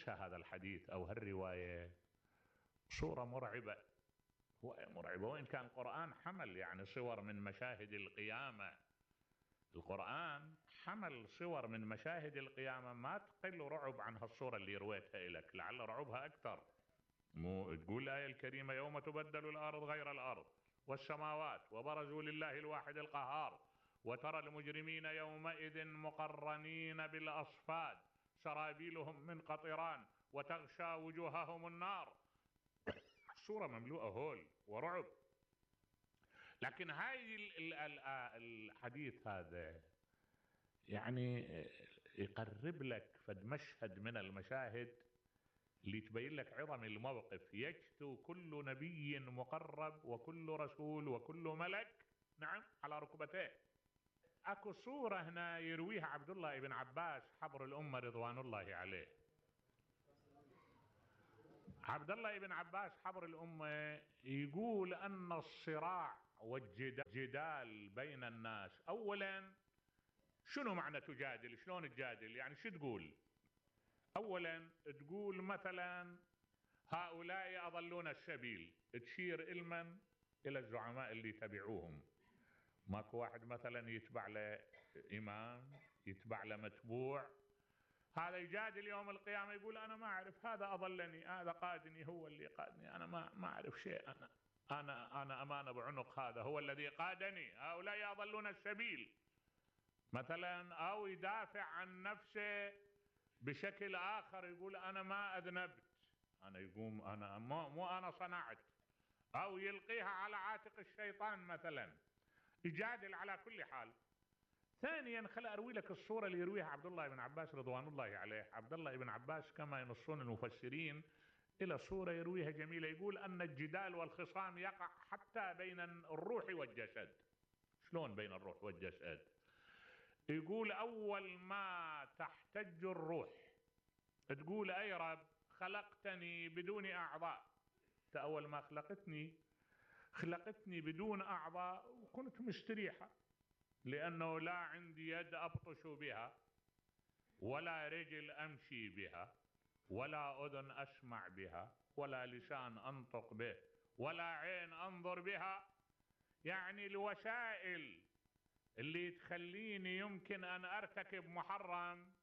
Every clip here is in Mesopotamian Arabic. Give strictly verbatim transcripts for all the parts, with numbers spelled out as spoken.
يناقشها هذا الحديث أو هالرواية صورة مرعبة، هو مرعبة. وإن كان القرآن حمل يعني صور من مشاهد القيامة، القرآن حمل صور من مشاهد القيامة ما تقل رعب عن هالصورة اللي رويتها لك، لعل رعبها أكثر. مو تقول الآية الكريمة يوم تبدل الأرض غير الأرض والسماوات وبرزوا لله الواحد القهار وترى المجرمين يومئذ مقرنين بالأصفاد سرابيلهم من قطران وتغشى وجوههم النار. الصورة مملوءة هول ورعب. لكن هاي الحديث هذا يعني يقرب لك فد مشهد من المشاهد اللي تبين لك عظم الموقف. يجثو كل نبي مقرب وكل رسول وكل ملك نعم على ركبتيه. اكو صورة هنا يرويها عبد الله بن عباس حبر الأمة رضوان الله عليه. عبد الله بن عباس حبر الأمة يقول أن الصراع والجدال بين الناس، أولا شنو معنى تجادل؟ شلون تجادل؟ يعني شو تقول؟ أولا تقول مثلا هؤلاء أضلون السبيل، تشير إلمن؟ إلى الزعماء اللي تبعوهم. ماكو واحد مثلا يتبع له إمام، يتبع له متبوع، هذا يجادل يوم القيامة يقول أنا ما أعرف، هذا أضلني، هذا قادني، هو اللي قادني، أنا ما ما أعرف شيء، أنا أنا أنا أمانة بعنق، هذا هو الذي قادني، هؤلاء أضلون السبيل مثلا. أو يدافع عن نفسه بشكل آخر يقول أنا ما أذنبت، أنا يقوم أنا مو, مو أنا صنعت، أو يلقيها على عاتق الشيطان مثلا، يجادل على كل حال. ثانيا خل أروي لك الصورة اللي يرويها عبد الله بن عباس رضوان الله عليه. عبد الله بن عباس كما ينصون المفسرين إلى صورة يرويها جميلة، يقول أن الجدال والخصام يقع حتى بين الروح والجسد. شلون بين الروح والجسد؟ يقول أول ما تحتج الروح تقول أي رب خلقتني بدون أعضاء، أول ما خلقتني خلقتني بدون أعضاء وكنت مستريحة، لأنه لا عندي يد أبطش بها ولا رجل أمشي بها ولا أذن أسمع بها ولا لسان أنطق به ولا عين أنظر بها. يعني الوسائل اللي تخليني يمكن أن أرتكب محرم،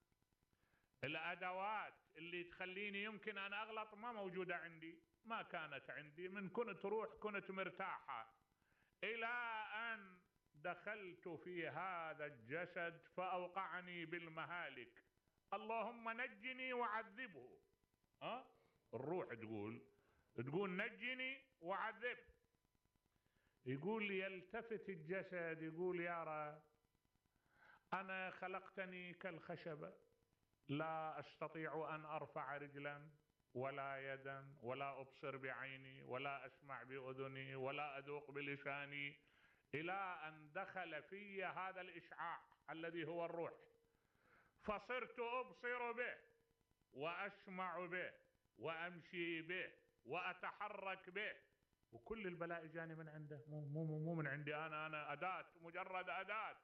الأدوات اللي تخليني يمكن أن أغلط ما موجودة عندي، ما كانت عندي. من كنت روح كنت مرتاحة إلى أن دخلت في هذا الجسد فأوقعني بالمهالك، اللهم نجني وعذبه. أه؟ الروح تقول تقول نجني وعذبه. يقول يلتفت الجسد يقول يا رب أنا خلقتني كالخشبة، لا أستطيع أن أرفع رجلا ولا يدا ولا أبصر بعيني ولا أسمع بأذني ولا أذوق بلساني، إلى أن دخل في هذا الإشعاع الذي هو الروح، فصرت أبصر به وأسمع به وأمشي به وأتحرك به، وكل البلاء جاني من عنده، مو, مو, مو من عندي أنا، أنا أداة، مجرد أداة.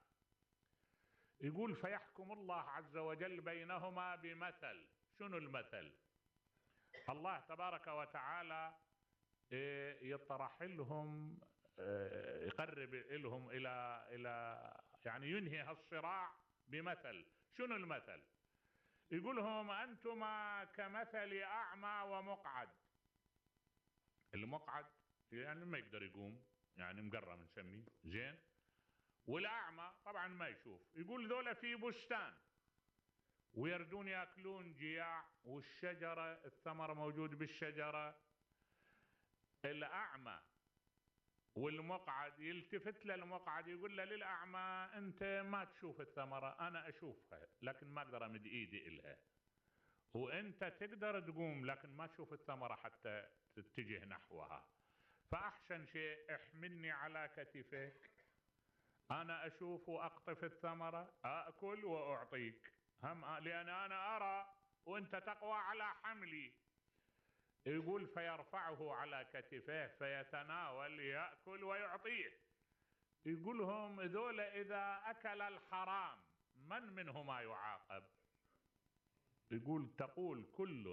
يقول فيحكم الله عز وجل بينهما بمثل. شنو المثل؟ الله تبارك وتعالى يطرح لهم، يقرب لهم إلى إلى يعني ينهي هالصراع بمثل. شنو المثل؟ يقول لهم أنتما كمثل أعمى ومقعد. المقعد يعني ما يقدر يقوم، يعني مقرم نسميه زين، والأعمى طبعا ما يشوف. يقول ذولا في بستان ويردون يأكلون جياع، والشجرة الثمر موجود بالشجرة. الأعمى والمقعد يلتفت للمقعد يقول له للأعمى أنت ما تشوف الثمرة، أنا أشوفها لكن ما أقدر أمد إيدي إلها، وأنت تقدر تقوم لكن ما تشوف الثمرة حتى تتجه نحوها، فأحسن شيء احملني على كتفك، أنا أشوف وأقطف الثمرة أأكل وأعطيك، هم لأن أنا أرى وأنت تقوى على حملي. يقول فيرفعه على كتفه فيتناول يأكل ويعطيه. يقولهم ذول إذا أكل الحرام من منهما يعاقب؟ يقول تقول كل